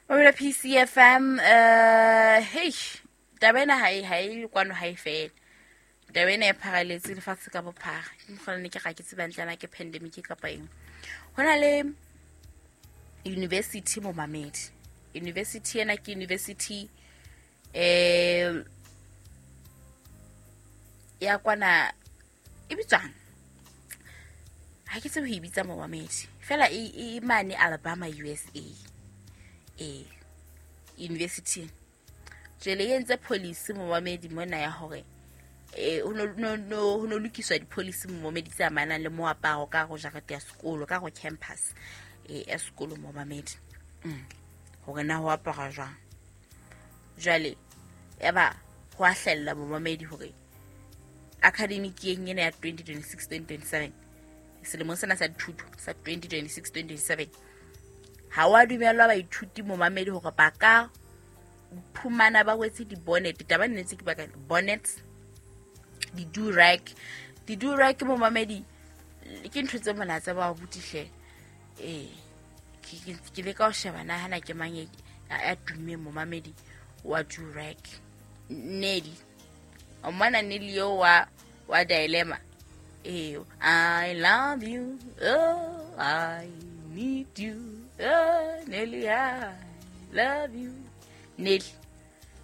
Mamela PCFM, hey, taba ena ha e kwano, ha e fele. Taba ena e pharaletse lefatshe ka bophara. Ke mokgwa ne ke ga ke tsebang tlana ke pandemic kapa eng. Ho na le university momamedi. University ena ke university ya kwana e bitswang, ha ke tsebe ho e bitsa momamedi, fela e mane Alabama, USA. University jwale e entse policy momamedi mona ya hore ho no lokiswa di-policy momamedi tse amanang le moaparo ka go jarete ya sekolo, ka go campus ya sekolo momamedi, hore na ho apara jwang. Jwale eba ho a hlella momamedi hore academic yeng ena ya 2026-2027, selemong sena sa dithuto sa 2026-2027, ha wa dumellwa baithuti momamedi hore ba ka phumana ba wetse di-bonnet. Taba nnetse ke baka bonnet, di-durag. Di-durag momamedi ke ntho tse monatse ba butihle. Ke leka ho sheba na hana ke mang ya tummeng momamedi wa durag. Nelly, o mmona Nelly eo wa Dilemma. I love you, oh, I need you, oh, Nelly, I love you. Nelly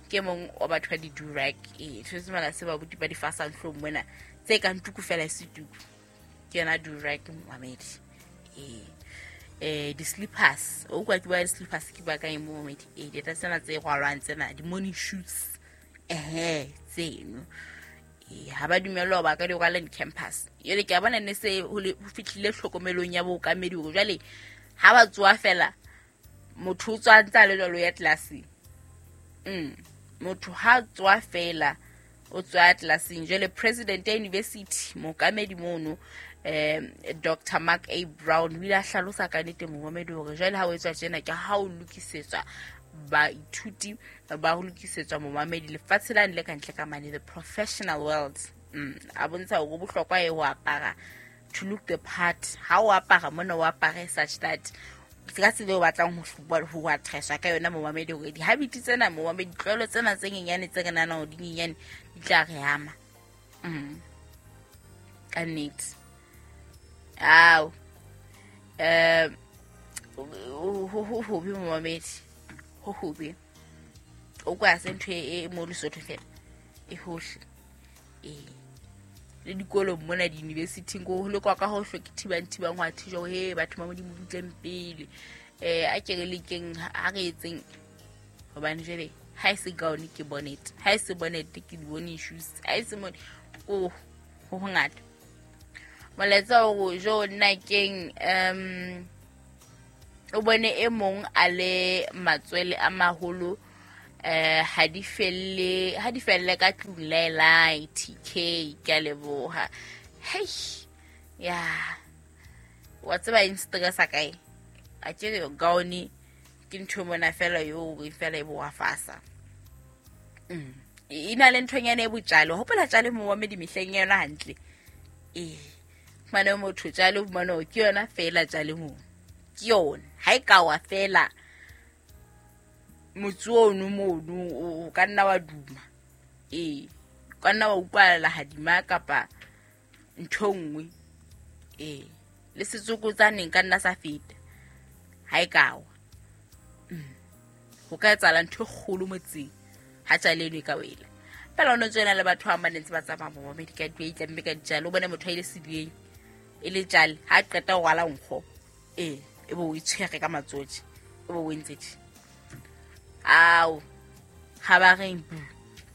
ke mong wa batho ba di-durag. Ntho tse mala se ba buti ba di fasang hlong mona tse kang tuku fela e se tuku, ke yona durag momamedi. Di-slippers, o kwa ke ba di-slippers ke ba kae momamedi? Dieta tsena tse rwalwang tsena, di-morning shoes, tseno ha ba dumellwa ba ka di rwala di-campus. Jwale ke a bona ne se ho fihlile tlhokomelong ya bookamedi hore jwale ha ba tsoa fela motho o tswa ntse a le jwalo ya tlelaseng. Motho ha tswa fela o tswa tlelaseng. Jwale president ya university mookamedi mono, Dr. Mark A. Brown, o ile a hlalosa ka nnete momamedi hore jwale ha o etswa tjena ke ha o lokisetswa baithuti, ba ho lokisetswa momamedi lefatshe lane le kantle ka mane, the professional world. A bontsha hore ho bohlokwa e ho apara to look the part. Ha o apara mona o apare such that ka tsela eo o batlang ho addresswa ka yona momamedi, hore di-habit tsena momamedi, ditlwaelo tsena tse nyenyane tse re nahanang hore di nyenyane di tla re ama. Ka nnete. Ao, ho hobe momamedi, ho hobe. O kwa se ntho e mo Lesotho fela e hohle, le dikolong mona di-university-ing ko ho lekwa ka hohle, ke thibang thibang ho a thijwa he batho ba Modimo butleng pele. A ke re lekeng, ha re etseng, hobane jwale ha e se gown ke bonnet, ha e se bonnet ke di-morning shoes, ha e se mone ko ho hongata. Molaetsa o jo nna keng, o bone e mong a le matswele a maholo, ha di felle ka tlung laelai TK, ke a leboha. Hei ya wa tseba eng stress a kae, a ke re gown ke ntho mona fela yo e fela e bo wa fasa. E na le nthonyana e botjalo, hopola tjale mo wa medi mehleng ya yona hantle. Mane motho tjale mona ke yona fela tjale mo ke yona, ha e ka wa fela motse ono mono o ka nna wa duma, o ka nna wa utlwala hadima kapa ntho nngwe, le setsokotsaneng ka nna sa feta ha e ka wa. Ho ka etsahala ntho e kgolo motseng ha tjale eno e ka wela. Fela o no tswela le batho ba ba ntse ba tsamaya momamedi ka di itlamme ka ditjale, o bone motho a ile sediyeng e le tjale, ha qeta ho rwala nkgo, e bo o itshwere ka matsotsi, e bo o entse tje. Ao, ha ba reng bu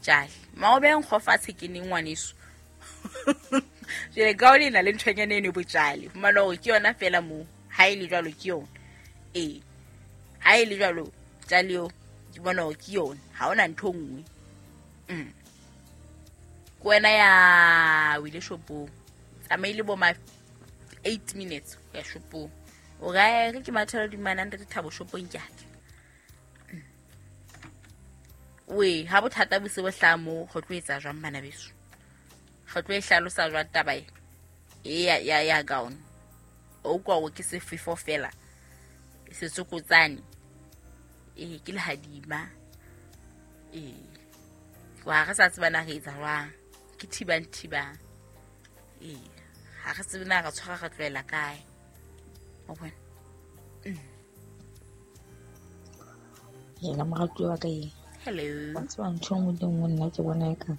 tjale maobe nkgo fatshe ke neng ngwaneso. Jwale ka o le na le nthonyana eno e botjale, fumana hore ke yona fela moo, ha e le jwalo ke yona. Ha e le jwalo tjale eo ke bona hore ke yona, ha hona ntho nngwe. Ke wena ya o ile shopong, tsamaile bo ma 8 minutes ho ya shopong, o re re ke mathela dimana ntate Thabo shopong ke ake. We ha bothata bo se bo hlaha moo, re tlo etsa jwang bana beso? Re tlo e hlalosa jwang taba e ya gown? O kwa o ke sefefo fela. Setsokotsane ee, ke lehadima. Ee, wa re sa tseba na re etsa jwang, ke thibang thibang. Ee, ha re tsebe na re tshwara re tlohela kae. Wa bona? Hela moratuwa wa ka e. Hello. Wa tseba ntho e nngwe le nngwe nna ke bona eka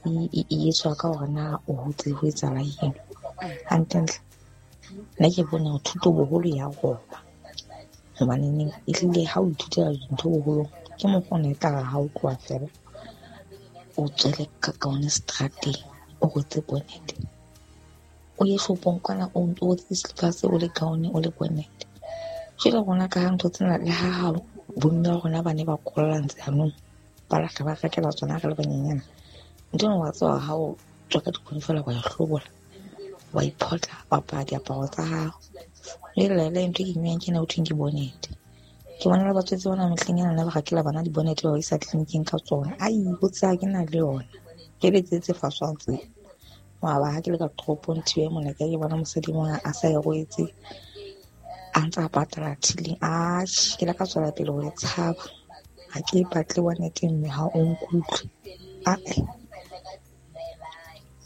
e etswa ka hore na o hotse ho etsahala eng. Hantlentle nna ke bone hore thuto boholo ya roba. Hobaneneng ehlile ha o ithutela dintho boholong ke mokgwa ona e tlare ha o tloha feela o tswele ka kaone seterateng o rwetse bonnet. O ye shopong kwana o rwetse di-slippers o le kaone o le bonnet. Jwale rona ka ha ntho tsena le ha bomme ba rona ba ne ba kolla ntse yanong ba lahla ba rekela tsona re le banyenyana. Ntho ena wa tseba ha o tswa ka dikhoni feela wa e hlobola, wa iphotla, wa apara diaparo tsa hao. Jwale le ntho e ke nywang ke ena ho thweng ke bonnet. Ke bona le batswetse bana mehleng ena ba rekela bana di-bonnet ba ba isa tleliniking ka tsona. Ai, ho tse ha ke na le yona. Ke le tse tse faswang tse. Wa ba ha ke le ka toropong thibe mona ke bona mosadi mona a sa e rwetse, a ntse a patala till-ing. Atjhe, ke la ka tswela pele ho e tshaba. Ha ke e batle bonnet mme ha o nkutlwe. Ae,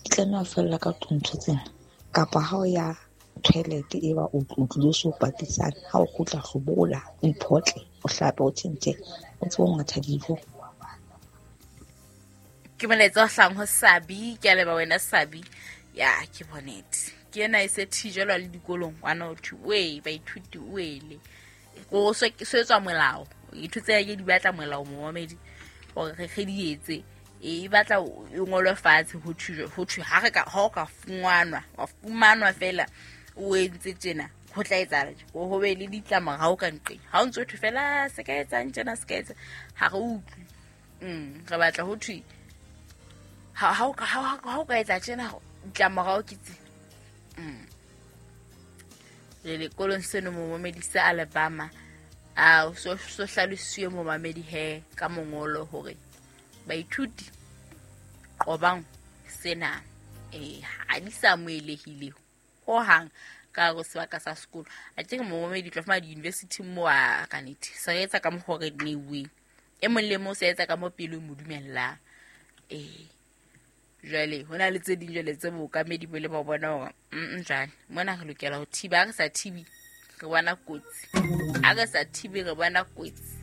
di tlameha ho fella ka tlung ntho tsena. Kapa ha o ya toilet e ba o tlilo so patisane, ha o kgutla hlobola, o iphotle, o hlape, o tjhentjhe, o tsebe ho ngatha dijo. Ke molaetsa o hlang ho Sabi, ke a leba wena Sabi. Ya, ke bonete. Ke ena e se thijelwa le dikolong kwana ho thwe, wee, baithuti wele. Ko so etswa molao. Ditho tse ke di batla molao momamedi hore re di etse. E batla e ngolwe fatshe ho thwe, ho thwe ha re ka, ha o ka fumanwa, wa fumanwa fela o entse tjena, ho tla etsahala tje. Ho be le ditlamorao ka nqeng. Ha o ntso thwe fela se ka etsang tjena, se ka etsa, ha re utlwe. Re batla ho thwe ha o ka, ha o ka etsa tjena, ditlamorao ke tse. Le lekolong seno momamedi sa Alabama, a so hlalosiwe momamedi he ka mongolo hore baithuti qobang sena. Ha di sa amohelehile hohang ka hare ho sebaka sa sekolo. A ke re momamedi tlo fumana di-university mo a ka nnete. Se re etsa ka mokgwa o re neuweng. E mong le mong se etsa ka mo pelo e mo dumellang. Jwale ho na le tse ding jwale tse bookamedi bo le ba bona hore, jwale mona re lokela ho thiba. Ha re sa thibi re bona kotsi. Ha re sa thibi re bona kotsi.